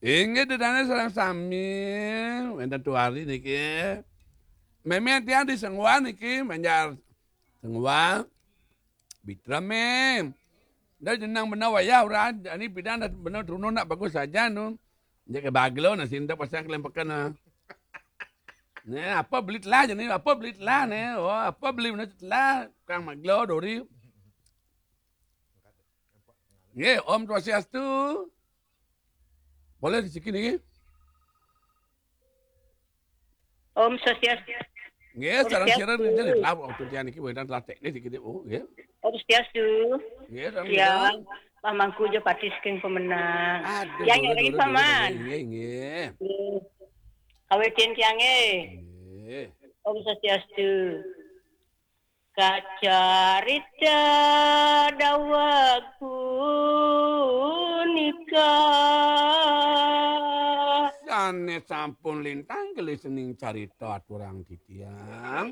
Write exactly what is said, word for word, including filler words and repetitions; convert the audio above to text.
Inggih, ida dané sareng sami, wénten tuari niki. Mémé tiang di Sengwal niki, Banjar Sengwal. Bitra mé. Dah jenang bener wayah ora, ini bidang dah bener turun nak bagus saja nu. Jadi baglo nasi ndak pasang kelempeken. Nah, apa beli telah jadi apa beli telah nih. Oh, apa beli bener telah kang maglo dori. Nggih, Om Swastiastu. Boleh di sini niki? Om Swastiastu. Nggih, sareng sira niki lah waktu tiang niki wénten telah teknis dikit. Oh, nggih. Om Swastiastu. Nggih, sareng Ya, Pak Mangku jo pati saking Pemenang. Aduh, Yang dulu, nyari dulu, paman. Nggih, nggih. Nggih. Kawitin tiangé. Nggih. Om Swastiastu. Kacarita daweg punika. Sané sampun lintang gelis ning carita aturang titiang.